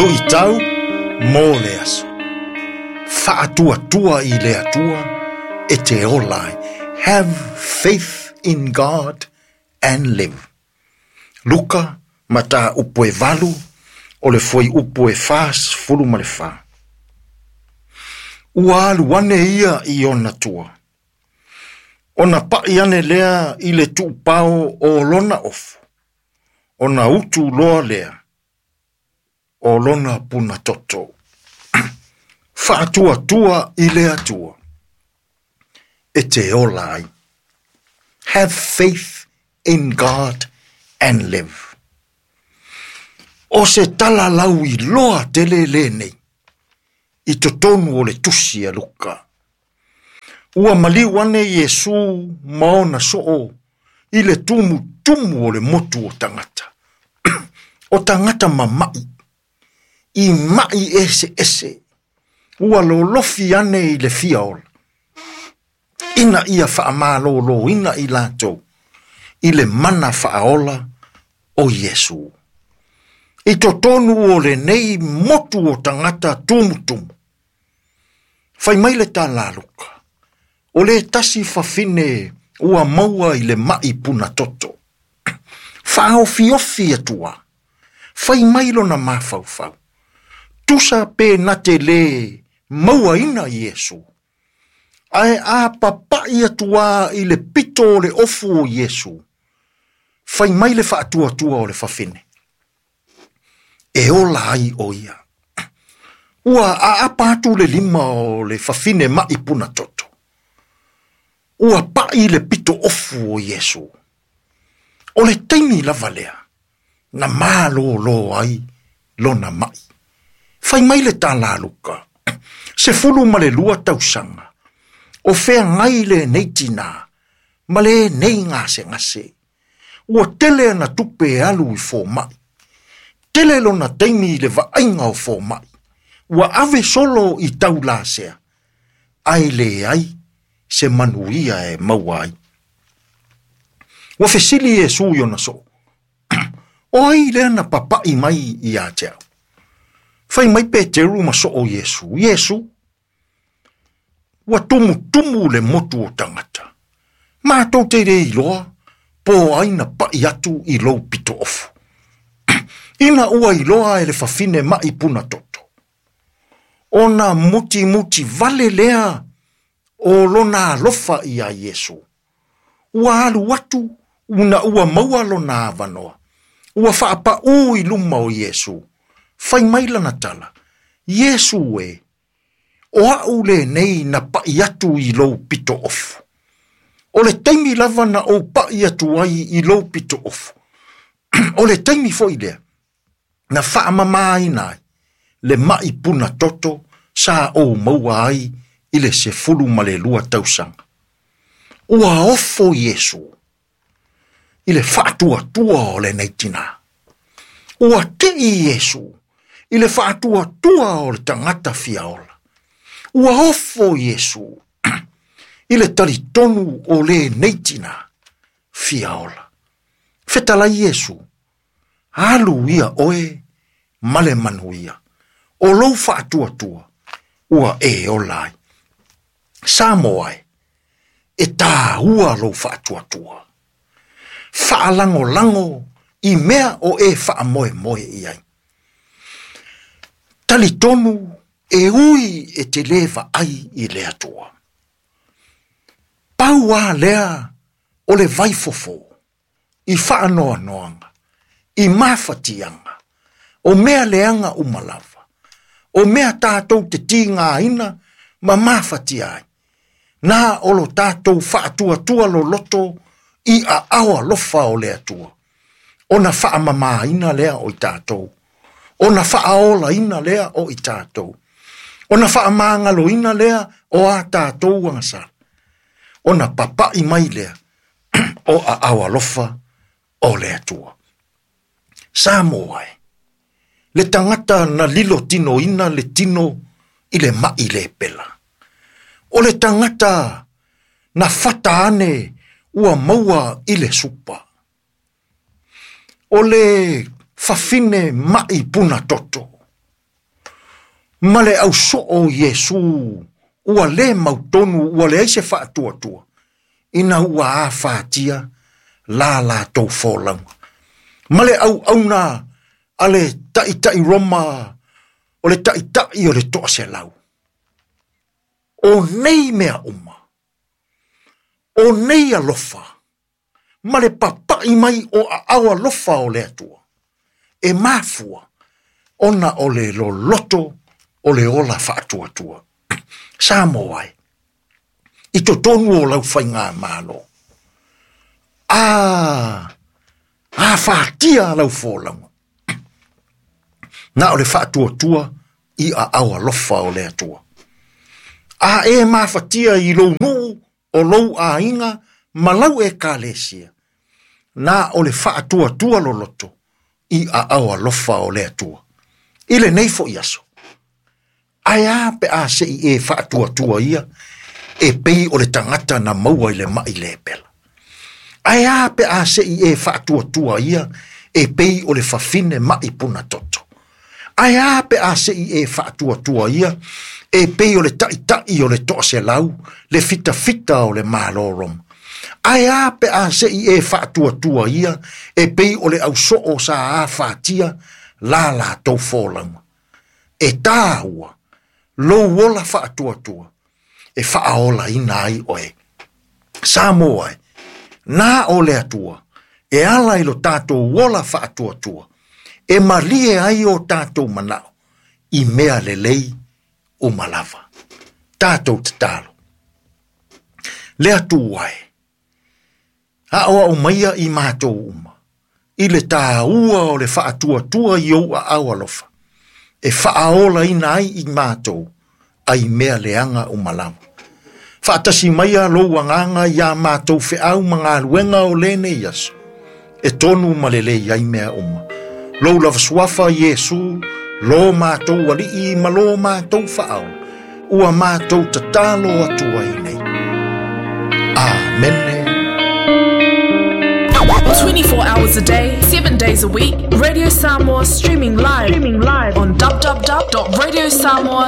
Luʻitau mo le aso. Faatuatua i le Atua e te ola ai. Have faith in God and live. Luka, mataupu e 8, o le fuaiupu e 44. Ua alu ane ia i ona tua. Ona paʻi ane lea i le tuupao o lona ofu. Ona utu loa lea o lona puna toto. Faatuatua i le Atua e te ola ai. Have faith in God and live. O se tala lau iloa tele lenei i totonu o le tusi a Luka. Ua maliu ane Iesu ma ona soo i le tumutumu o le motu o tagata. O tagata mamaʻi, i maʻi ese ese, ua lolofi ane i le fia ola. Ina ia faamalōlōina i latou i le mana faaola o Iesu. I totonu o lenei motu o tagata tumutumu. Fai mai le tala a Luka, o le tasi fafine ua maua i le maʻi puna toto. Faaofiofi atua, fai mai lona mafaufau. Tusa pe na te lē mauaina Iesu. Ae a papaʻi atu i le pito o le ofu o Iesu. Fai mai le faatuatua o le fafine. E ola ai o ia. Ua aapa atu le lima o le fafine maʻi puna toto. Ua paʻi le pito ofu o Iesu. O le taimi lava lea, na malōlō ai lona maʻi. Fai mai le tala a Luka, 12 tausaga, o feagai lenei tinā, ma lenei gasegase. Ua tele ana tupe e alu i fomai. Tele lona taimi i le vaaiga o fomai. Ua ave solo i taulasea, ae leai se manuia e maua ai. Ua fesili Iesu i ona soo. O ai lea na papaʻi mai ia te au. Fai mai Peteru ma soo Iesu. Iesu, ua tumutumu le motu o tagata. Matou te le iloa, po o ai na paʻi atu i lou pito ofu. Ina ua iloa e le fafine maʻi puna toto. Ona mutimuti vale lea o lona alofa ia Iesu. Ua alu atu una ua maua lona avanoa. Ua faapaū i luma o Iesu. Fai mai lana tala. Iesu e, o aʻu lenei na paʻi atu i lou pito ofu. O le taimi lava na ou paʻi atu ai i lou pito ofu. O le taimi foi lea, na faamamāina ai le maʻi puna toto sa ou maua ai i le 12 tausaga. Ua ofo Iesu i le faatuatua o lenei tinā. Ua teʻi Iesu i le faatuatua o le tagata fia ola. Ua ofo Iesu i le talitonu o lenei tinā fia ola. Fetalai Iesu, alu ia oe ma le manuia. O lou faatuatua, ua e ola ai. Samoa e, e tāua lou faatuatua. Faalagolago i mea o e faamoemoe i ai. Talitonu e ui e te lē vaai i le Atua. Pau a lea o le vaifofo i faanoanoaga, i mafatiaga, o mea leaga uma lava, o mea tatou te tigaina ma mafatia ai. Na o lo tatou faatuatua loloto i aao alofa o le Atua. Ona faamamāina lea o i tatou. Ona faaolaina lea o i tatou. Ona faamagaloina lea o a tatou agasala. Ona papaʻi mai lea o aao alofa o le Atua. Samoa e, le tagata na lilo tinoina le tino i le maʻi lepela. O le tagata na fata ane ua maua i le supa. O le fafine maʻi puna toto. Ma le ausoo o Iesu ua lē mautonu ua leai se faatuatua ina ua afatia la latou folauga. Ma le auauna a le taitai Roma o le taitai o le 100. O nei mea uma, o nei alofa, ma le papai mai o aao alofa o le Atua, e mafua ona o le loloto o le ola faatuatua. Samoa e, i totonu o lau faigamalo, afatia lau folauga, na o le faatuatua i aao alofa o le Atua. A e mafatia i lou nuu o lou aiga ma lau ekalesia, na o le faatuatua loloto i aao alofa o le Atua. I lenei foi aso, ae a pe a sei e faatuatua ia, e pei o le tagata na maua i le mai lepela. Ae a pe a sei e faatuatua ia, e pei o le fafine mai puna toto. Ae a pe a sei e faatuatua ia, e pei o le taitai o le 100, le fitafita o le Malo Roma. Ae a pe a sei e faatuatua ia, e pei o le ausoo sa afatia la latou folauga. E tāua, lou ola faatuatua, e faaolaina ai oe. Samoa e, na o le Atua, e ala i lo tātou ola faatuatua, e malie ai o tātou manao, i mea lelei uma lava. Tātou tatalo. Le Atua e, aoao maia i mātou uma, i le tāua o le faatuatua i ou aao alofa, e faaolaina ai i mātou, ai mea leaga uma lava. Faatasi maia lou agaga iā mātou feau ma galuega o lenei aso, e tonu ma lelei ai mea uma. Lou lava suafa Iesu, lo mātou alii ma lo mātou faaola, ua mātou tatalo atu ai nei. Amene. 24 hours a day, 7 days a week, Radio Samoa streaming live on www.radiosamoa.com.